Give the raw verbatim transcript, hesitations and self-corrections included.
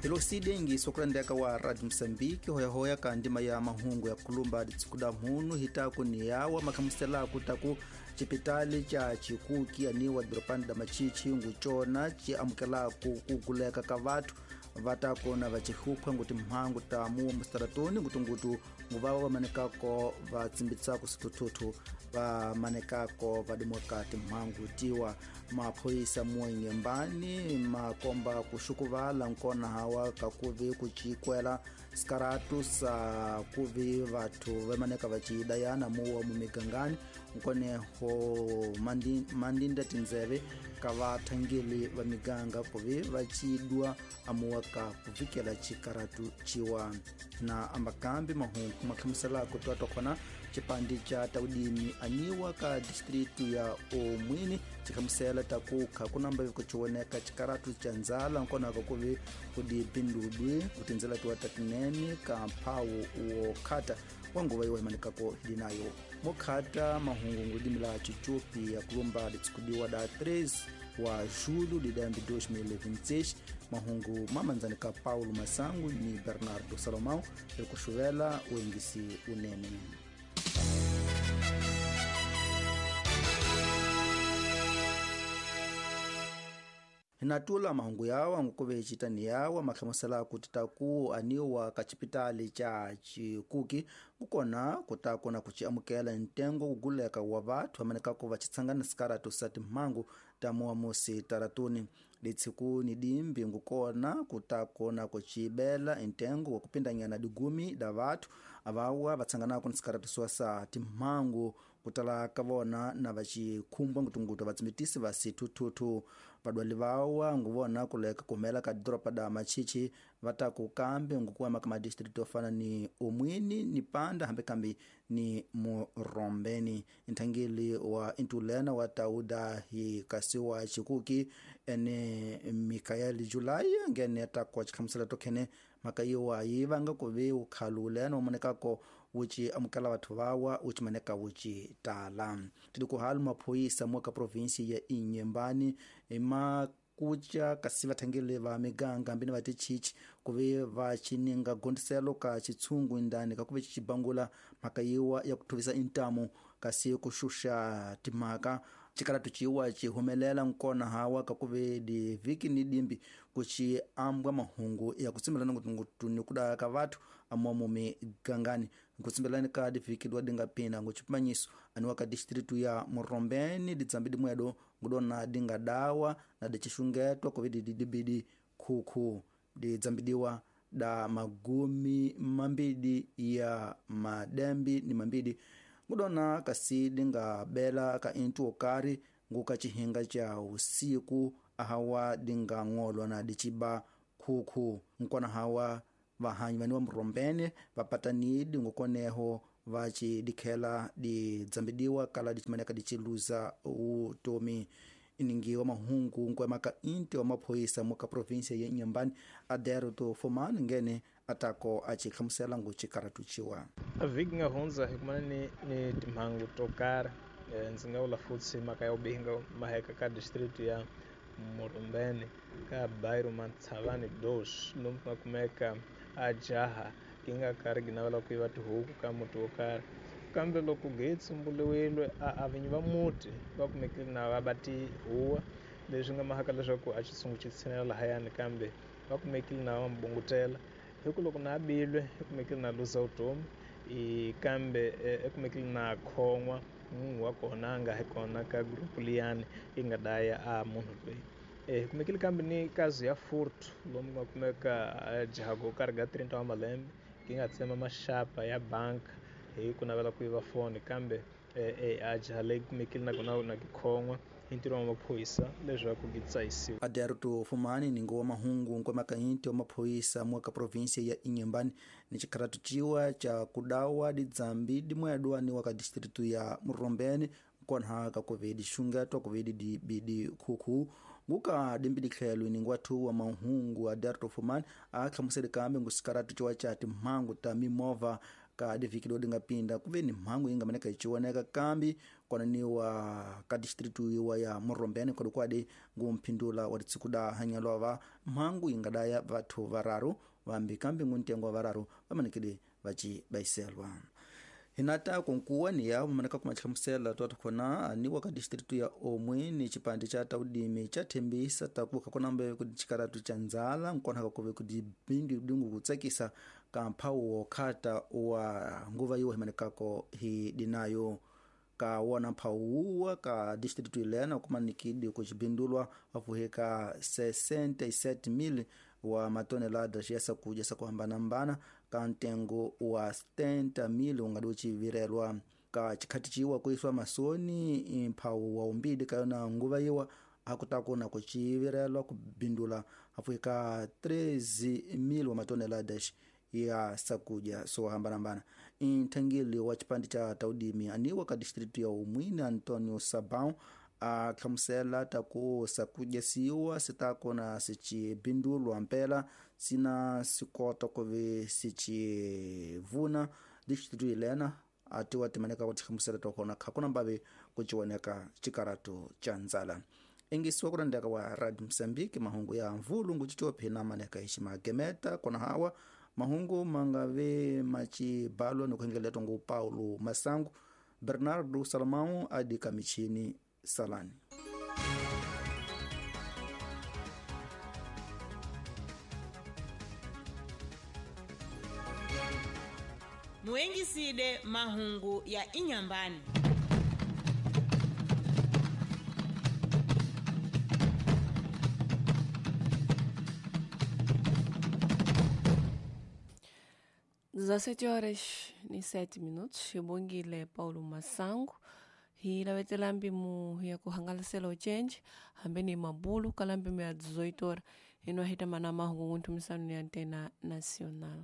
Hiloside sokurendeka wa Radio Mozambique hoyahoya ka ndima ya mahungu ya kulumba ditsikuda mhunu hitaku ni yawa makhamusela kutaku chipitali cha Chikuki aniwa doropani da Machichi nguchona chi amukela kuguleka ka vathu vatakona vachihuphwa nguti mhangu ta muwa mustaratoni ngutungutu nguvawa vamanekako vatsimbitsako situthuthu vamanekako vadimoka timhangu tiwa maphoyisa muwenyembani makomba kuxukuvala nkona hawa kakuvi kucikwela sikaratu sa kuvi vathu vamaneka vacidayana muwa mumigangani nkoneho mandinda tindzeve ka vathangeli va miganga kuvi vacidwa amuwa ka kuvikela cikaratu ciwa na ambakambi mahungu makhamuselako twatwa khona cipandi ca taudimi aniwa ka distritu ya Omwini cikhamusela takukha kunamba vikuciwoneka cikaratu ca ndzala nkonaka kuvi kudipindudwi kutindzela tiwa tatinene ka mphawu wokhata wa nguva yiwa himanikako hili nayo mokhata mahungu nguludimi la cicupi ya kulumba litsikudiwa da treze wa julho de dois mil e vinte e seis mahungu mamanzani ka Paulo Masangu ni Bernardo Salomão ekuxuvela uengisi unene. Hinatula mahungu yawa ngukuve citani yawa makhamusela kuti taku aniwa ka cipitali ca Chikuki kukona kutakona kuciamukela ntengo kuguleka wa vathu amanekako vacitsangana sikaratu sa timhangu ta muwa musi taratuni litsiku ni dimbi ngukona kutakona kucibela ntengo wa kupindanyana digumi da vathu avawa vatsanganako ni sikaratu swa sa timhangu kutala ka vona na vacikhumbwa ngutungutu vatsimbitisi va situthuthu vadwali vawa nguvona kuleka kumela ka doropa da Machichi vataku kambe ngukuwema ka madistritu ofana ni Omwini ni Panda hambe kambi ni Murombeni nthangeli wa intulena wa tauda hi kasi wa Chikuki ene Mikael Julai ngene takwa chikhamusela tokhene mhaka yiwa yi vanga kuvi ukhalulena umonekako wuci amukela vathu vawa wuci maneka wuci tala tili kuhalu maphoyisa muka provinsi ya Inhambane ma kuca kasi vathangeli va miganga ambini va tichichi kuvi va cininga gondiselo ka chitshungu indani kakuve cicibangula mhaka yiwa ya kuthuvisa intamu kasi kuxuxa timhaka cikaratu ciwa cihumelela nkona hawa kakuve diviki ni dimbi kuci ambwa mahungu ya kutsimbelana ngutungutu ni kuda ka vathu amomo migangani nkutsimbelani ka diviki dwa dinga pina ngucipimanyiso aniwa ka distritu ya Murombeni ditsambi dimwedo ngudona dinga dawa na dicixungetwa kuve didibidi khukhu didzambidiwa da magumi mambidi ya madembi ni mambidi ngudona kasi dinga bela ka intu okari nguka cihinga ca usiku ahawa dinga ng'olwa na diciba khukhu nkona hawa vahanyi vani wa Murombeni vapatanidi ngukoneho vaci dikhela didzambidiwa kala dicimaneka diciluza utomi iningi wa mahungu nkwemaka inti wa maphoyisa muka provinsia ya Inhambane Aderto Fomani ngene atako acikhamusela ngucikaratu ciwa a vhiki nga hundza hi kumana ni ni timhangu to karhi ndzi nga vula futhi mhaka ya vubihi maheka ka district ya Murombeni ka bairro Matshavani dos lomu ku nga kumeka a jaha ki nga karhi gi navela ku yiva tihuku ka muti wo karhi kambe loko gi tsumburiwile a vinyi va muti va kumekile na va ba tihuwa leswi nga mahaka leswaku a xitshungu xi tshinela lahayani kambe va kumekile na va mbungutela hi ku loko na bilwe i kumekile na luza vutomi i kambe i kumekile na khon'wa munhu wa kona a nga hi kona ka group liyani yi nga daya a munhu loyi hi kumekile kambe ni kazi ya furtu lomu nga kumeka jaha go karhi ga trenta wa malembe ki nga tsema maxapa ya bank hi ku navela ku yiva foni kambe a jaha leyi kumekile na kona na kikhon'wa hi ntirho wa maphorisa leswaku gi tsayisiwa Aderto Fumani ningo wa mahungu nkwemaka inti wa maphorisa muka provinsia ya Inhambane ni cikaratu ciwa ca kudawa didzambi dimwedwa ni wa ka distritu ya Murombeni nkonha ka kuve dixungetwa kuve dibidi khukhu nguka dimbi ditlhelo ningo wathu wa mahungu Aderto Fumani a hlamusele kambe ngusikaratu ciwa ca timhangu ta mimovha Ka divhiki lodi nga pinda ku ve ni mhangu yi nga maneka yi chiwoneka kambi kwananiwa ka distritu yiwa ya Murombeni kwadikwadi ngumphindula wa titsikuda hanyalova mhangu yi nga daya vathu vararu vambi kambi nguntengo wa vararu vamanekile vaci bayiselwa. Hinata kunkuwa ni ya maneka kumachihlamusela twathu khona aniwa ka distritu ya Omwe ni chipande cha taudimi cha thembisa takuka kunambe ku chikaratu cha ndzala nkona kakuve ku dibindi dingu kutsakisa ka mphawu wokhata wa nguva yiwa himanekako hi dinayo. Ka wona mphawu ka distritu ilena kumanikidi kuchibindulwa afuheka sessenta e sete mil wa matoneladas ya sakuja sakuhambanambana ka ntengo wa setenta mil ungadi uchivirelwa. Ka chikhati chiwa kuiswa masoni mphawu wa umbidi kayona nguva yiwa akutakuna kuchivirelwa kubindula afuheka treze mil wa matoneladas ya sakuja so hambanambana. Nthangili wa chipande cha taudimi aniwa ka distritu ya Umwini Antonio Sabão a hlamusela taku sakuja siwa sitakona sichibindulwa mpela sina sikota kuve sichivuna distritu ilena atiwa timaneka kutihlamusela tokona khakuna mbave kuchiwoneka chikaratu cha ndzala. Ingisiwa kurandeka wa Radio Mozambique mahungu ya mvulungu chichopi na maneka iximagemeta kona hawa mahungu mangave machibalwa ni kuhengeletwa ngu Paulo Masangu Bernardo Salomão adika michini salani. Muengiside mahungu ya inyambani. dezessete horas e sete minutos, xibongile Paulo Masango hi lavetela mpimu ya kuhangalasela ochenje hambe ni mabulu kala mpimu ya dezoito horas ino ahita mana mahungu ntumisano ya Antena Nacional.